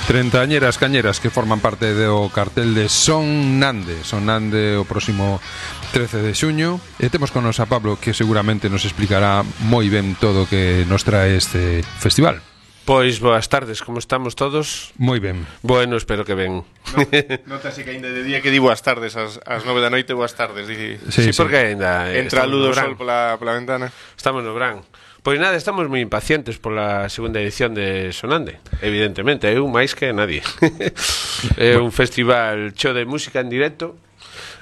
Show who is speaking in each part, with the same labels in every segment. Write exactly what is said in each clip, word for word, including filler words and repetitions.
Speaker 1: Trentañeras cañeras que forman parte do cartel de Sonnande Sonnande o próximo trece de xuño. E temos con nos a Pablo, que seguramente nos explicará moi ben todo o que nos trae este festival.
Speaker 2: Pois boas tardes, como estamos todos?
Speaker 1: Moi ben.
Speaker 2: Bueno, espero que ben.
Speaker 3: No, notase que ainda de día que di boas tardes ás, ás nove da noite, boas tardes. Di,
Speaker 2: sí, sí, porque ainda
Speaker 3: entra a luz do sol pola, pola ventana.
Speaker 2: Estamos no verán. Pois nada, estamos moi impacientes pola segunda edición de Sonnande. Evidentemente, eu máis que nadie. É un festival cheo de música en directo,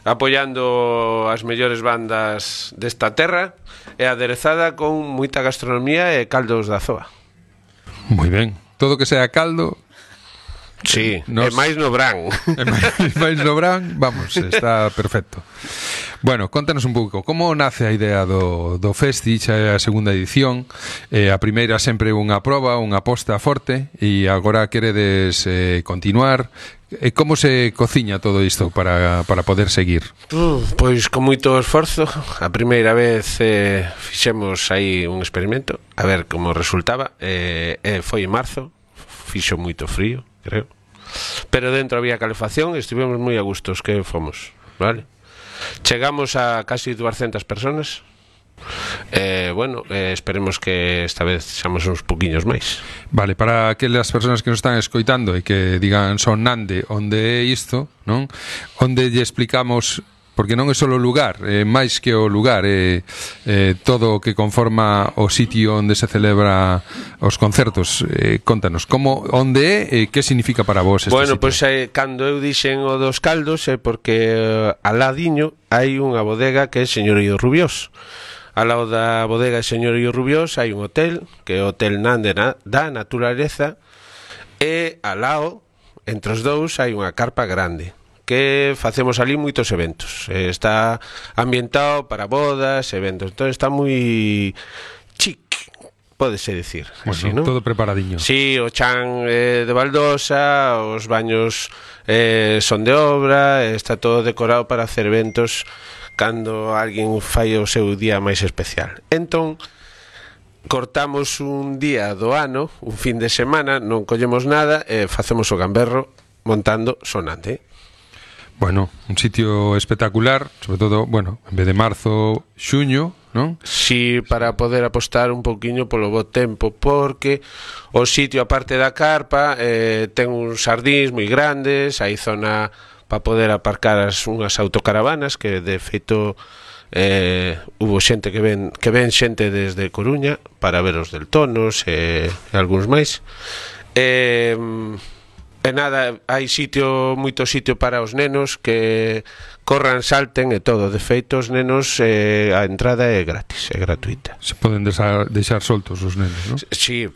Speaker 2: apoiando as mellores bandas desta terra e aderezada con moita gastronomía e caldos da zoa.
Speaker 1: Moi ben. Todo que sea caldo.
Speaker 2: Sí, nos... e máis no Brán.
Speaker 1: E máis, máis no Brán, vamos, está perfecto. Bueno, contanos un pouco como nace a idea do, do Festi, xa é a segunda edición. eh, A primeira sempre unha proba, unha aposta forte, e agora queredes eh, continuar. E como se cociña todo isto para, para poder seguir?
Speaker 2: Uh, pois con moito esforzo. A primeira vez eh, fixemos aí un experimento a ver como resultaba. eh, eh, Foi en marzo, fixo moito frío, creo, pero dentro había calefacción e estivemos moi a gustos que fomos, vale? Chegamos a casi duascentas personas. Eh, bueno, eh, esperemos que esta vez seamos uns poquinhos máis.
Speaker 1: Vale, para aquelas persoas que nos están escoitando e que digan Sonnande, onde é isto, non? Onde lle explicamos, porque non é só o lugar, é máis que o lugar, é, é todo o que conforma o sitio onde se celebra os concertos. Eh, contanos, como, onde é e que significa para vos este
Speaker 2: bueno,
Speaker 1: sitio?
Speaker 2: Pois eh, cando eu dixen o dos caldos é porque eh, al ladiño hai unha bodega que é Señorío Rubiós. Ao lado da bodega de Señorío Rubiós hai un hotel, que é o Hotel Nande na, da Naturaleza, e ao lado, entre os dous, hai unha carpa grande, que facemos ali moitos eventos. Eh, está ambientado para bodas, eventos, entón está moi chic, pódese decir.
Speaker 1: Bueno,
Speaker 2: así, ¿no?
Speaker 1: Todo preparadiño.
Speaker 2: Sí, o chan eh, de baldosa, os baños eh, son de obra, está todo decorado para hacer eventos cando alguén fai o seu día máis especial. Entón, cortamos un día do ano, un fin de semana, non collemos nada e facemos o gamberro montando Sonnande.
Speaker 1: Bueno, un sitio espectacular, sobre todo, bueno, en vez de marzo, xuño, non?
Speaker 2: Si, para poder apostar un pouquiño polo bo tempo, porque o sitio, aparte da carpa, eh, ten uns xardíns moi grandes, hai zona para poder aparcar as unhas autocaravanas, que de feito eh, hubo xente que ven que ven xente desde Coruña para ver os Deltonos e, e algúns máis. E, e nada, hai sitio, moito sitio para os nenos que corran, salten e todo. De feito, os nenos, eh, a entrada é gratis, é gratuita.
Speaker 1: Se poden deixar, deixar soltos os nenos, non?
Speaker 2: Sí,